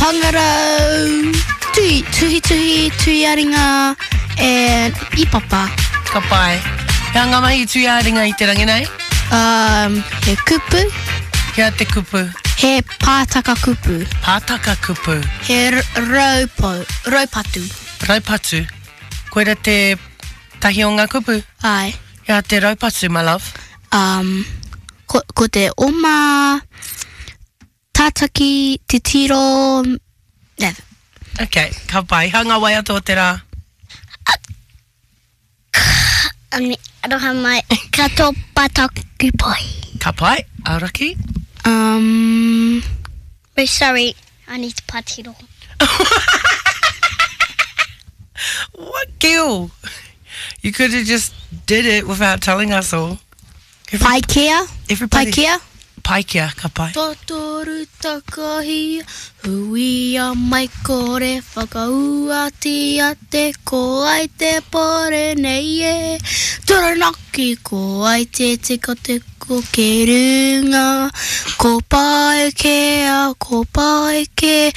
Pangarau, tuhi, tuhi, tuhi, tuhi-a-ringa, and ipapa. Ka pai. He aha ngā mahi i tuhi-a-ringa i te rangi nei? Um, he kupu. He aha te kupu? He pātaka kupu. Pātaka kupu. He raupo, raupatu. Raupatu. Koira te tahi o ngā kupu? Āe. He aha te raupatu, my love? Um, ko, ko te oma, Tātaki, titiro, yeah. Ok, ka pai. Hā ngā waiata o te rā? Aroha mai, ka topa taku pai. Ka pai, Aoraki? Um, oh, sorry, I need to patiro. What, Gil? You could have just did it without telling us all. Paikea? Everybody. Paikea? Paikea, ka pai. Totoru takahia, huia mai kore whakauatia te ko ai te pore nei e. Taranaki ko ai te tekoteko ki runga, ko Paikea, ko Paikea.